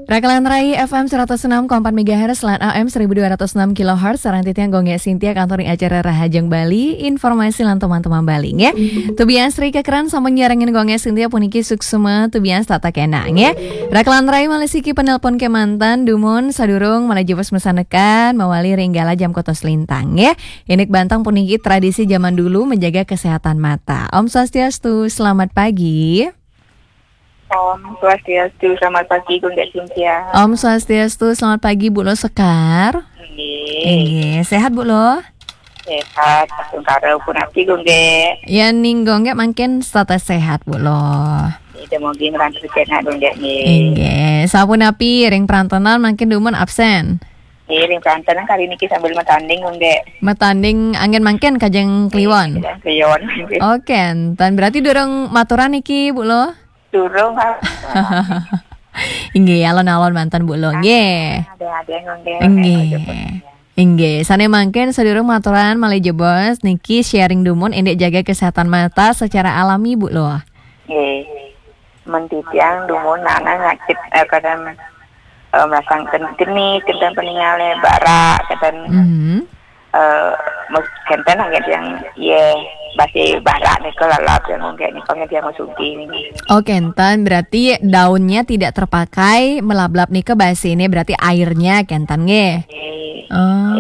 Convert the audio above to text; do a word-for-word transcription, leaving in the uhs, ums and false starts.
Rakelan Rai F M seratus enam koma empat megahertz lan A M seribu dua ratus enam kilohertz, sareng titiang Gung Gek Sintia, kantor ring acara Rahajeng Bali, informasi lan teman-teman Bali, nggih. Tubian Sri Kekeran sampun nyarengin Gung Gek Sintia puniki suksma, tubian setata kenak, nggih. Rakelan Rai malih siki penelpon kemanten, dumun sadurung malih jebos masanekan, mawali ring galah jam kotos lintang, nggih. Indik bantang puniki tradisi zaman dulu menjaga kesehatan mata. Om Swastiastu, selamat pagi. Om Swastiastu, selamat pagi, Gung Gek Sintia. Om Swastiastu, selamat pagi, Bu Lo Sekar. Nggih. Nggih, sehat, Bu Lo? Sehat, astungkara punapi, Gung Gek? Ya, ning Gung Gek mangkin setata sehat, Bu Lo. Nggih, mugi ngrantu kenak, Gung Gek, nggih. Nggih, sapunapi ring prantenan mangkin dumun absen? Nggih, ring prantenan kali niki sambil matanding, Gung Gek. Matanding anggen mangkin kajeng Kliwon? Kajeng Kliwon, nggih. Oke, enten berarti durung maturan niki, Bu Lo? Durung, Kak. Inggih, alon-alon manten, Bu Lo. Nggih. Ada-ada, Gung Gek. Nggih. Inggih, sane mangkin sadurung maturan malih jebos niki sharing dumun indik jaga kesehatan mata secara alami, Bu Lo. Nggih. Men titiang dumun nana ngacit, eh, kadang, eh, masang ken-, geni, kenten peningale barak, kenten, Mhm. eh, mus-, kenten anggen tiang, ye, basi barak nika lalap yang mungkin nika anggen tiang masugi niki. Oh, kenten, berarti daunnya tidak terpakai, melablab nika basi ini berarti airnya kenten nggih. Nggih. Oh.